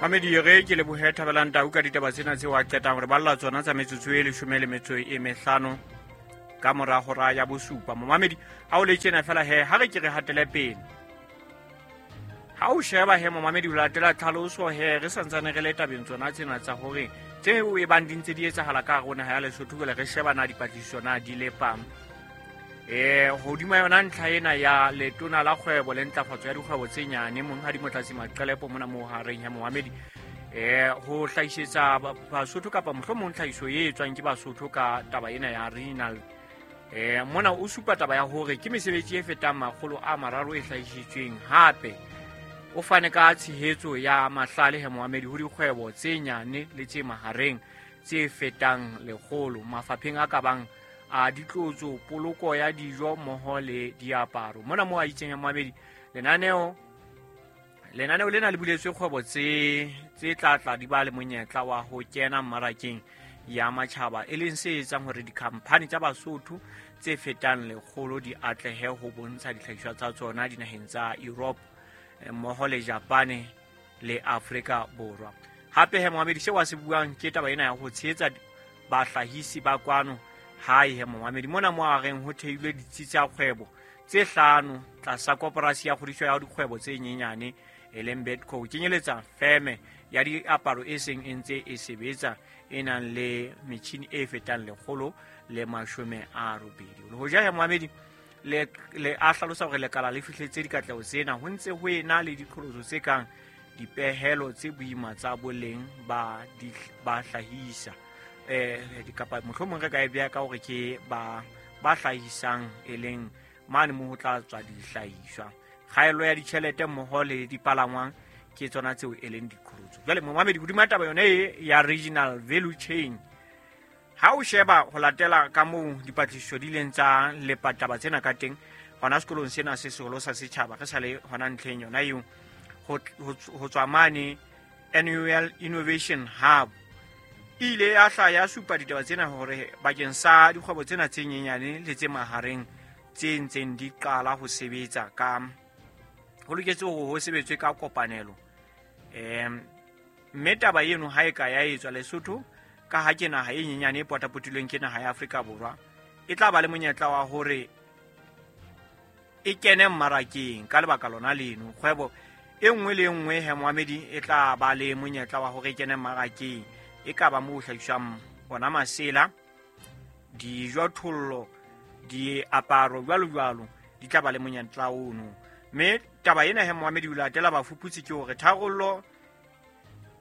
Mamedi, re ke lebohe Thabelang Tau ka ditaba tsena tseo a qetang re balla tsona tsa metsotso e 15 ka mora hora ya 7. Momamedi, ha o le tjena fela he, ha re ke re hatele pele. Ha o sheba he momamedi, o latela tlhaloso he, re santsane re le tabeng tsona tsena tsa hore tseo e bang di ntse di etsahala ka hare ho naha ya Lesotho, jwale re sheba na dipatlisiso na di lepang. Hodima yona ntlha ena ya letona la kgwebo le ntlafatso ya dikgwebo tse nyane, Monghadi Motlatsi Maqelepo mona mo hareng ya momamedi, ho hlahisetsa Basotho kapa mohlomong tlhahiso e etswang ke Basotho ka taba ena ya regional. Mona o supa taba ya hore ke mesebetsi e fetang 300 e hlahisitsweng. Hape o fane ka tshehetso ya mahlale he momamedi ho dikgwebo tse nyane le tse mahareng tse fetang 100 mafapheng a ka bang a ditlotso, poloko ya dijo mmoho le diaparo. Mona mo a itseng ya momamedi, lenaneo lena le buletswe kgwebo tse tla tla di ba le monyetla wa ho kena mmarakeng ya matjhaba, e leng se etsang hore dikhamphani tsa Basotho tse fetang 100 di atlehe ho bontsha dihlahiswa tsa tsona dinaheng tsa Europe mmoho le Japane le Afrika Borwa. Hape he momamedi, seo a se buang ke taba ena ya ho tshehetsa bahlahisi ba kwano hae he momamedi. Mona mo a reng ho theilwe ditsi tsa kgwebo tse 5 tlasa koporasi ya kgodiso ya dikgwebo tse nyenyane e leng Bedco, ho kenyeletsa feme ya diaparo e seng e ntse e sebetsa e nang le metjhini e fetang 180. Le hoja he momamedi le a hlalosa hore lekala le fihletse dikatleho tsena, ho ntse ho ena le diqholotso tse kang dipehelo tse boima tsa boleng ba hlahisa, kapa mohlomong re ka e beha ka hore ke ba hlahisang e leng mane mo ho tla tswa dihlahiswa, kgaello ya ditjhelete mmoho le dipalangwang ke tsona tseo e leng diqholotso. Jwale momamedi, hodima taba yona e ya regional value chain, ha o sheba ho latela ka moo dipatlisiso di ileng tsa lepa taba tsena ka teng hona sekolong sena se seholo sa setjhaba, re sa le hona ntlheng yona eo, ho tswa mane Annual Innovation Hub e ile ya hla ya supa ditaba tsena hore bakeng sa dikgwebo tsena tse nyenyane le tse mahareng tse ntseng di qala ho sebetsa ka ho loketse hore ho sebetswe ka kopanelo. Mme taba eno ha e ka ya etswa Lesotho, ka ha ke naha e nyenyane e potapotilweng ke naha ya Afrika Borwa, e tla ba le monyetla wa hore e kene mmarakeng ka lebaka lona leno. Kgwebo e nngwe le e nngwe he momamedi e tla ba le monyetla wa hore e kene mmarakeng, e ka ba moo ho hlahiswang ona masela, dijo, thollo, diaparo jwalo jwalo, di tla ba le monyetla ono. Mme taba ena he momamedi o latela bafuputsi ke hore tharollo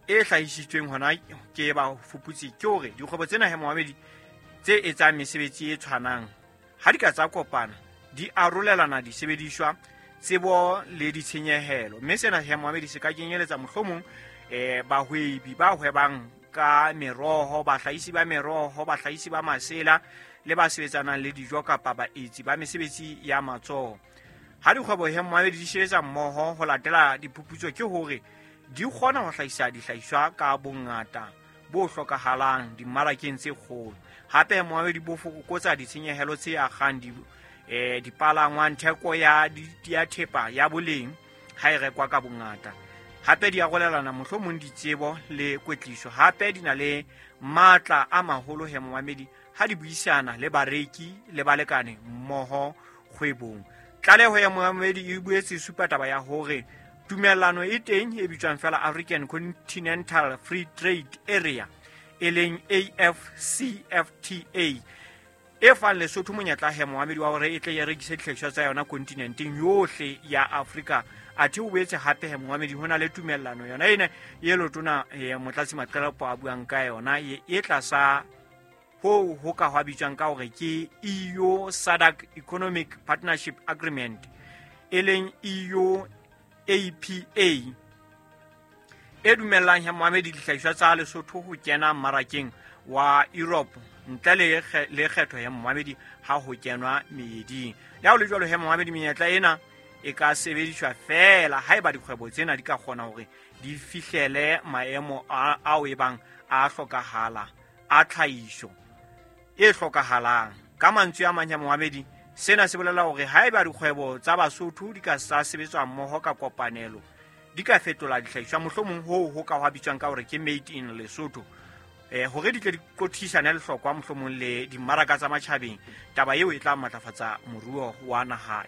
e hlahisitsweng hona ke bafuputsi ke hore dikgwebo tsena he momamedi tse etsang mesebetsi e tshwanang ha di ka tsa kopana, di arolelana disebediswa, tsebo le ditshenyehelo. Mme sena he momamedi se ka kenyeletsa mohlomong bahwebi ba hwebang ka meroho, bahlahisi ba meroho, bahlahisi ba masela le ba sebetsanang le dijo kapa baetsi ba mesebetsi ya matsoho. Ha dikgwebo he momamedi di sebetsa mmoho ho latela diphuputso ke hore di kgona ho hlahisa dihlahiswa ka bongata bo hlokahalang dimmarakeng tse kgolo. Hape momamedi bo fokotsa ditshenyehelo tse akgang dipalangwang, theko ya thepa ya boleng ha e rekwa ka bongata. Hape di arolelana mohlomong ditsebo le kwetliso. Hape di na le matla a maholo he momamedi ha di buisana le bareki le balekane mmoho kgwebong. Tlaleho ya momamedi e boetse e supa taba ya hore tumellano e teng e bitswang fela African Continental Free Trade Area, e leng AfCFTA, e fang Lesotho monyetla he momamedi wa hore e tle e rekise dihlahiswa tsa yona kontinenteng yohle ya Afrika. Athe o boetse hape he momamedi ho na le tumellano yona ena e lotona Motlatsi Maqelepo a buang ka yona e tlasa ho ka hwa bitswang ka hore ke EU SADC Economic Partnership Agreement, e leng EU APA, e dumellang he momamedi dihlahiswa tsa Lesotho ho kena mmarakeng wa Europe ntle le kgetho ya momamedi ha ho kenwa meeding. Le ha ho le jwalo he momamedi, menyetla ena e ka sebediswa feela haeba dikgwebo tsena di ka kgona hore di fihlele maemo ao e bang a hlokahala a tlhahiso e hlokahalang. Ka mantswe a mang ya momamedi, sena se bolela hore haeba dikgwebo tsa Basotho di ka sa sebetswa mmoho ka kopanelo, Di ka fetola dihlahiswa, mohlomong hoo ho ka hwa bitswang ka hore ke made in Lesotho, hore di tle di qothisane lehlokwa mohlomong le dimmaraka tsa matjhabeng. Taba eo e tla matlafatsa moruo wa naha.